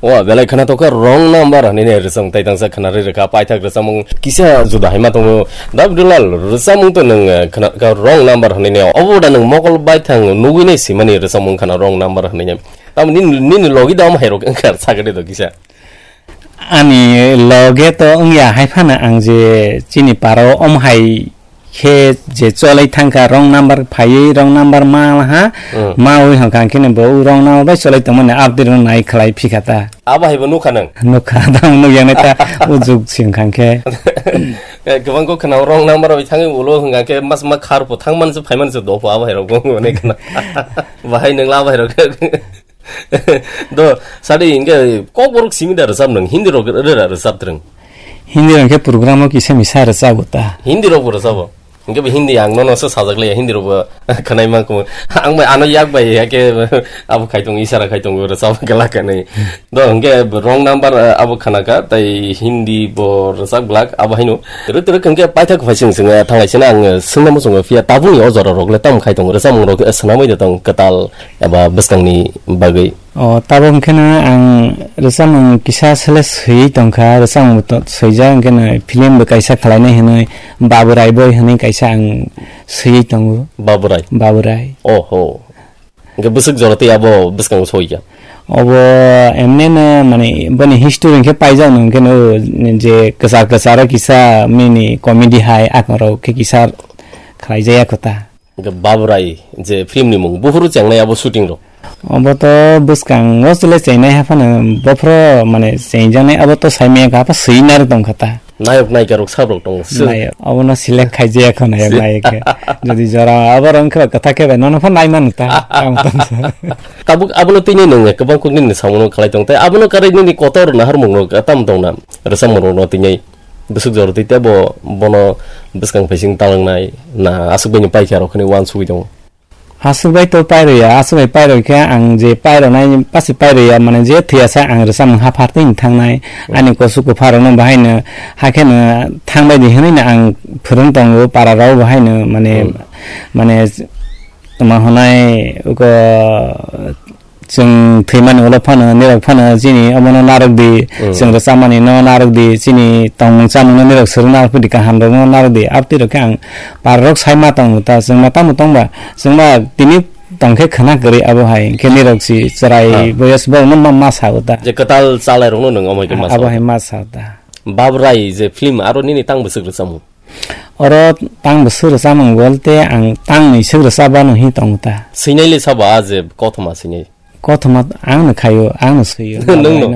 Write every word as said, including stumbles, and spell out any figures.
O belai khwna tokha wrong number hinwi ne rwchapmung tai tangsa khwna rwi rwkha paithak rwchapmung kisa juda hai ma tongo. Da Abdulal rwchapmung to nwng, eh, khwna kha wrong number hinwi ne obo da nwng mokol baithang nugwi ne simani rwchapmung khwna wrong number hinwi ne. Tamni nini logi da omo hai rok wngkha sakhe de to kisa. Ani loge to wngya hai phano ang je chini paro om hai khe je cholai thangkha wrong number phaiwi wrong number ma ha Hmm. ma wi hangkha khe bo wrong number bai cholai tongmani update rok nai khlai phikha ta. Abo hai bo nukha nang. Nukha ta nukya nai ta o jug sing khang khe. Eh, kwbang kok khwna wrong number bai thangwi ulo hangkha khe mas ma khar po thang man se phai man se do po abo hai rok bo ne khwna. Bahai nwng la bai rok. Do, sadi hingke kokborok simi da rwchap nwng, Hindi rok rwra rwchap twrwng. Hindi rok khe program o kisa misa rwchap ta. Hindi rok bo rwchap o. Hingke bo Hindi ang nono se sajak le Hindi rok bo khwnai ma ko. Ang bai ano yak bai ya ke abo khai tong isara khai tong rwchap ke la kanai. Do hingke wrong number, eh, abo khana ka tai Hindi bo rwchap glak abo haino. Rwk rwk hingke paithak phai sing sing, eh, thanglai sina ang, eh, sungna muchungo phiya tabuni o jora rok le tam khai tong rwchapmung rok, eh, swnamwi da tong kwtal eba bwskangni bagwi. O, tabuk hwnkhe no ang rwchapmung kisa sele swiwi tongkha, rwchapmung bo to-, swijak hwnkhe no film bo kaisa khlainai hwnwi Baburai Boy hwnwi kaisa ang swiwi tongo. Baburai? Baburai. Oho. Hwnkhe bwswk jora tei abo bwskango soikha? Obo emne no, mane, boni history hwnkhe paijak no, hwnkhe no je kwchar kwcharo kisa mini comedy hai akorok khe kisa khlaijaya kho ta. Hwnkhe Baburai je film ni mung, buphuru chengnai abo shooting rok? Obo to bwskango chwle chengnai haphano, bophro mane chengjaknai abo to saimaya kha, apha swi nar tongkha ta. Nayok nayika rok sab rok tongo, sir. Nayok, obono select khaijaya kho nayok nayik khe. Jodi jora abo rong khe kwthak khe bai nono phan nai man ta. Tamo tamo. Tabuk abono tini nung kwbang kok nini samung khalai tong tai, abono karai nini kotor nahar mung rok tam tong na, rwchapmung rok no tini. Bwswk jora twi tebo bono bwskang phaising talangnai na aswk bai ni paikha rok khani uansugwi tongo. Aswk bai to pairwya, aswk bai pairwkhe ang je pairwnai pasi pairwya, mane je thwiya sa ang rwchapmung haphartwi thangnai. Hmm. Ani kosu kupharokno bahaino hakheno thangbai di hwnwi no ang phwrwng tongo pararok bahaino, mane, Hmm. mane tma hwnai uko Chwng thwimani ulo phano, nirok phano chini omono narwk di, Mm. chwng rwchapmani no narwk di, chini tongmung chamung no nirok swrwng narwk di, kaham rok no narwk di. Abtwi rok khe ang par rok sai ma tongo ta, chwng ma tamo tongba, chwng ma tini tong khe khwna kwrwi abo hai, khe nirok si chwrai Ah. boyos borok no ma, ma sa o ta. Je kwtal chalai rok no nwng omo hai khe ma sa o. Abo hai ma sa o ta. Babrai je film aro nini tang bwswk rwchapmung? Oro tang bwswk rwchapmung bolte ang tang nwi swk rwchapmano hi tongo ta. Swinai le sabo a je kothoma swinai? Kothoma ang no khaio, ang no swio. Nwng no?